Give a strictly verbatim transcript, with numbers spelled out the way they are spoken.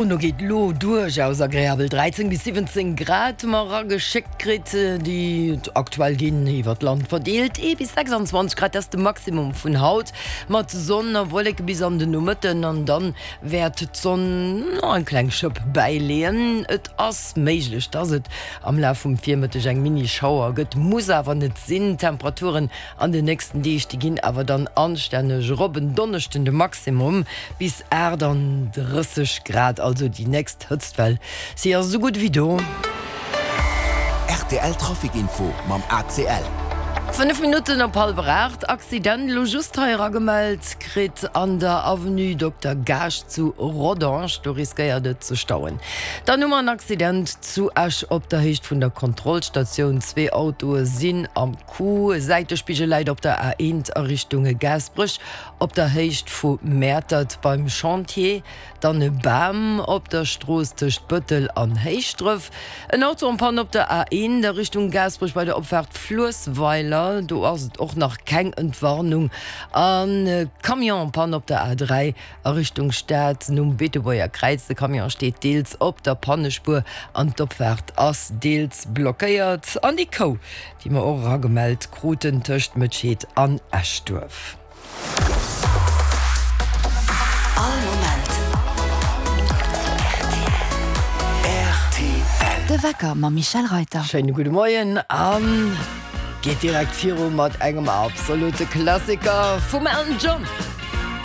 Dono geet lo duerchaus agreabel dräizéng bis siwwenzéng Grad hu mer erageschéckt kritt, déi aktuell ginn iwwer d'Land verdeelt. Ee bis sechsandzwanzeg Grad, dat ass de Maximum vun haut, mat Sonn a Wolleke bis an den Nomëtten an dann wäert d'Sonn nach eng kleng Schëpp bäileeën. Et ass méiglech, dass et am Laf vum Virmëtteg eng Mini-Schauer gëtt, muss awer net sinn. D'Temperaturen an den nächsten Deeg, déi ginn awer dann anstänneg erop. En Donneschden de Maximum bis aachtanddrësseg Grad, also déi nächst Hëtztwell, si ass esou gutt ewéi do. Rtl Trafic Info mam A C L. Fënnef Minutten op hallwer aacht, Accident elo just hei eragemellt kritt an der Avenue Dokter Gaasch zu Rodange, do riskéiert et ze stauen. Dann hu mer en Accident zu Esch op der Héicht vun der Kontrollstatioun, zwee Autoe sinn am Coup. E Säitespigel läit op der A eent a Richtung Gaasperech op der Héicht vu Mäertert beim Chantier. Dann e Bam op der Strooss tëscht Bëttel an Héischdref. En Auto en panne op der A eent a Richtung Gaasperech bei der Opfaart Fluessweiler, do ass et och nach keng Entwarnung. An e Camion en panne op der A dräi a Richtung Stad nom Beetebuerger Kräiz. De Camion steet deels op der Pannespuer an d'Opfaart ass deels blockéiert. An déi Kou, déi mer och eragemellt kruten tëscht Mëtscheed an Eschduerf. All Moment R T L. De Wecker mam Michèle Reyter. Schéine gudde Moien a geet direkt viru mat engem absolute Klassiker vum Elton John.